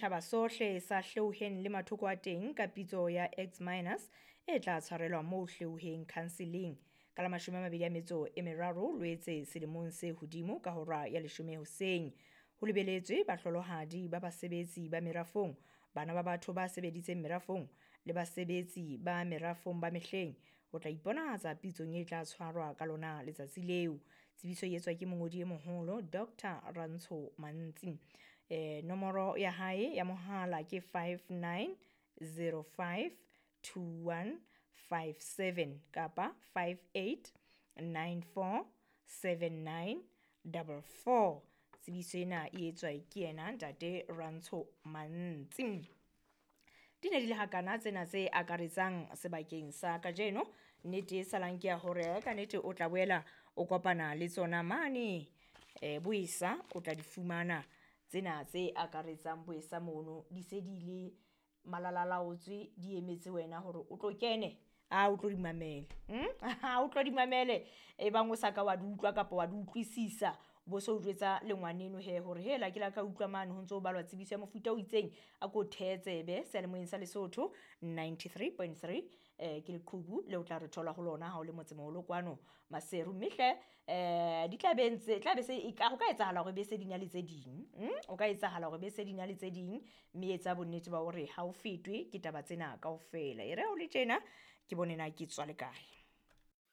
Setjhaba sohle sa Hleuheng le mathoko a teng ka pitso ya X-Minus e tla tshwarelwa moo Hleuheng Counseling ka la 23 Loetse selemong se hodimo ka hora ya 10 hoseng. Ho lebeletswe bahlolohadi ba basebetsi ba merafong, bana ba batho ba sebeditseng merafong le basebetsi ba merafong ba mehleng ho tla iponahatsa pitsong e tla tshwarwa ka lona letsatsi leo. Tsebiso e etswa ke mongodi e moholo Dr Rantsho Mantsi. Nomoro ya hae ya mohala ke 59052157 kapa 58947944. Tsebiso ena e etswa ke yena ntate Rantsho Mantsi. Di ne di le hakana tsena tse akaretsang sebakeng sa kajeno. Nnete e salang ke ya hore ka nnete o tla boela o kopana le tsona mane boesa o tla di fumana tsena tse akaretsang boesa mono di se di le malalalaotswe di emetse wena hore o tlo kene a o tlo di mamele. O tlo di mamele e bang o sa ka wa di utlwa kapa wa di utlwisisa bo so jwetsa le ngwaneno he hore hela ke la ka utlwa mane ho ntso ho balwa tsebiso ya mofuta o itseng a ko thetsebe seyalemoyeng sa Lesotho 93.3 ke leqhubu le o tla re thola ho lona ha o le motsemoholo kwano Maseru mme hle di tla be ntse tla be se e ka ho ka etsahala hore be se di na le tse ding. O ka etsahala hore be se di na le tse ding mme etsa bonnete ba hore ha o fetwe ke taba tsena kaofela. E re ha o le tjena ke bone na ke tswa le kae.